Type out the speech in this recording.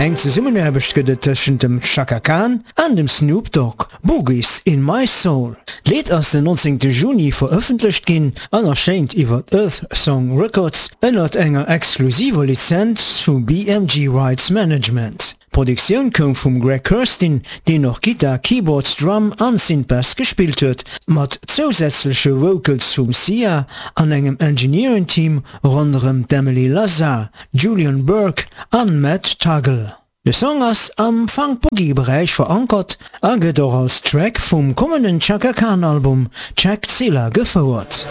Eng Zesummenaarbecht gëtt et tëschent dem Chaka Khan an dem Snoop Dogg, Boogies in My Soul. D'Lidd ass den 19 Juni verëffentlecht ginn an erschéint iwwer Earth Song Records ënnert enger exklusiver Lizenz vu BMG Rights Management. D'Produktioun koum vum Greg Kurstin, deen och Gittar, Keyboards, Drum an Synthbass gespillt huet, mat zousätzleche Vocals vum Sia an engem Engineering Team ronderëm d'Emily Lazar, Julian Burke an Matt Tuggle. De Song ass am Funk-Boogie-Beräich verankert a gëtt och als Track vum kommenden Chaka Khan Album Checkzilla gefouert.